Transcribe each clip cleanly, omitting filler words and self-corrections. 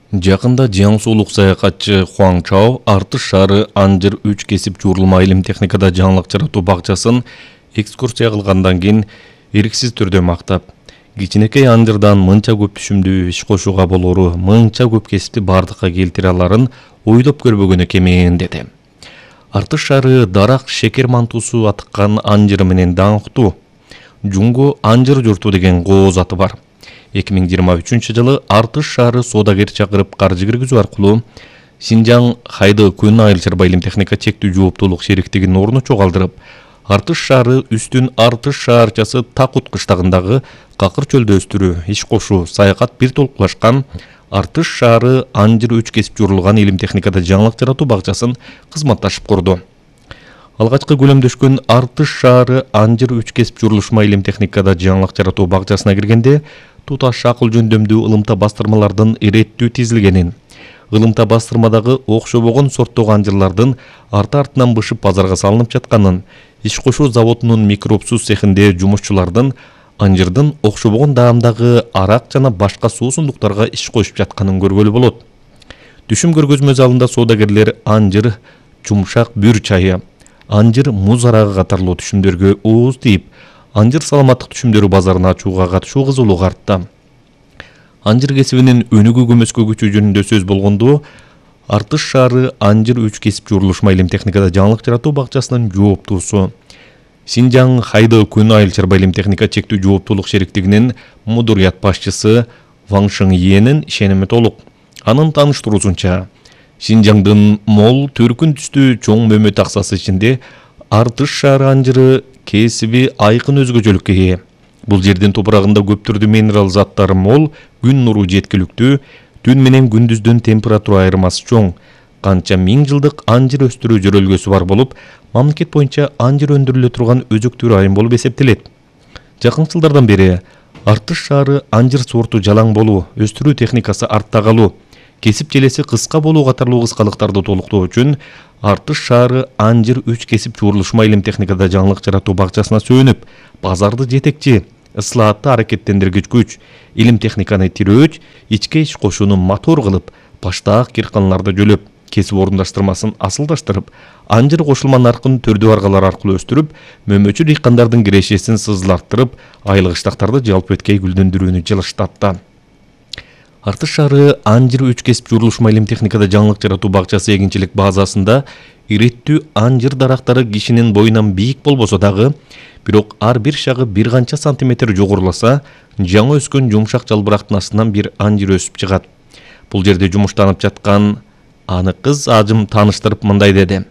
Жакында Жаңсуулук саякатчы Хуаң Чао Артыш шаары Анжыр 3 кесип жуурулма илим техникада жаңылык жаратуу бакчасын экскурсия кылгандан кийин эриксиз түрдө мактап, кичинекей Анжырдан мынча көп түшүмдүү иш кошууга болору, мынча көп кесипти бардыкка келтире аларын ойлоп көрбөгөнү кемейин деди. Артыш шаары дарак шекер мантуусу атыккан Анжыры менен даңктуу. Жуңго Анжыр журту деген кооз аты бар. 2023 жылы Артыш шаары соодагер чакырып каржы киргизүү аркылуу Синжаң Хайды Күн Айыл Чарба илим техника чектүү жооптуулук шериктигинин орну чогалдырып, Артыш шаары үстүн Артыш шаарчасы Такут кыштагындагы какыр чөлдө өстүрүү, иш кошуу, саякат бир толкулашкан Артыш шаары Анжыр 3 кесип жуурулган илим техникада жаңылык жаратуу бакчасын кызматташып курду. Алгачкы көлөмдөшкөн Артыш шаары Анжыр 3 кесип жуурулушма илим техникада жаңылык жаратуу бакчасына киргенде туташ акыл жөндөмдүү ылымта бастырмалардын иреттүү тизилгенин, ылымта бастырмадагы окшобогон сорттогу анжырлардын арты-артынан бышып базарга салынып жатканын, иш кошуу заводунун микробсуз цехинде жумушчулардын анжырдын окшобогон даамдагы арак жана башка суусундуктарга иш коюп жатканын көргөлү болот. Түшүм көргөзмө залында соодагерлер анжыр жумшак бүр чайы, анжыр муз арагы катарлуу түшүмдөргө ооз тийип, анжыр саламаттык түшүмдөрү базарын ачууга катышуу кызуулук артты. Анжыр кесибинин өнүгүү көмөскө күчү жөнүндө сөз болгондо, Артыш шаары Анжыр 3 кесип жуурулушма илим техникада жаңылык жаратуу бакчасынын жооптуусу, Синжаң Хайды Күн Айыл Чарба илим техника чектүү жооптуулук шериктигинин мудурият башчысы Ваң Шың Йенин ишеними толук. Анын тааныштыруусунча, Синжаңдын мол төркүн түстүү чоң мөмө таксасы ичинде Артыш шаары анжыры кесиби айкын өзгөчөлүккө ээ. Бул жердин топурагында көп түрдүү минерал заттары мол, күн нуру жеткиликтүү, түн менен күндүздүн температура айырмасы чоң. Канча миң жылдык анжыр өстүрүү жөрөлгөсү бар болуп, мамлекет боюнча анжыр өндүрүлө турган өзөктүү район болуп эсептелет. Жакын жылдардан бери Артыш шаары анжыр сорту жалаң болуу, өстүрүү техникасы артта калуу, кесип желеси кыска болуу катарлуу кыскалыктарды толуктоо үчүн Артыш шаары Анжыр 3 кесип жуурулушма илим техникада жаңылык жаратуу бакчасына сүйөнүп, базарды жетекчи, ыслаатты аракеттендиргич күч, илим техниканы тирөөч, ичке иш кошууну мотор кылып, баштаак кирканларды жөлөп, кесип орундаштырмасын асылдаштырып, анжыр кошулма наркын төрдүү аргалар аркылуу өстүрүп, мөмөчү дыйкандардын кирешесин сызыларттырып, айлык ыштактарды жалпы эткей гүлдөндүрүүнү жылыштатты. Артыш шаары Анжыр 3 кесип жуурулушма илим техникада жаңылык жаратуу бакчасы эгинчилик базасында иреттүү анжыр дарактары кишинин боюнан бийик болбосо дагы, бирок ар бир шагы бир канча сантиметр жогоруласа, жаңы өскөн жумшак жалбырактын астынан бир анжыр өсүп чыгат. Бул жерде жумуштанып жаткан аны кыз ажым тааныштырып мындай деди.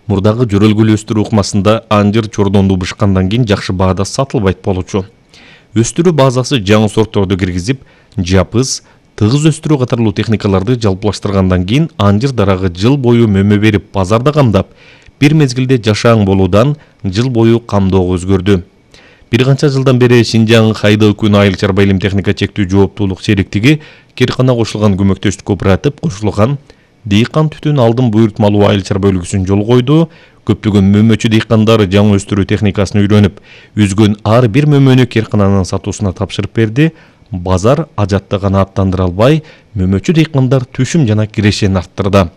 Мурдагы жөрөлгүлүү өстүрүү ыкмасында анжыр чордондуу бышкандан кийин жакшы баада сатылбайт болчу. Өстүрүү базасы жаңы сортторду киргизип, жапыз, тыгыз өстүрүү катарлуу техникаларды жалпылаштыргандан кийин анжыр дарагы жыл бою мөмө берип базарда камдап, бир мезгилде жашаң болуудан жыл бою камдоого өзгөрдү. Бир канча жылдан бери Синжаң Хайды Күн Айыл Чарба илим техника чектүү жооптуулук шериктиги Киркана кошулган көмөктөштүк кооператив кошулган дыйкан түтүн алдын буйртмалуу айыл чарба бөлүгүсүн жол койду. Көптөгөн мөмөчү дыйкандар жаңы өстүрүү техникасын үйрөнүп, үзгөн ар бир мөмөнү Киркананын сатуусуна тапшырып берди. Базар ажатты гана аттандыра албай, мөмөчү дыйкандар түшүм жана кирешени арттырды.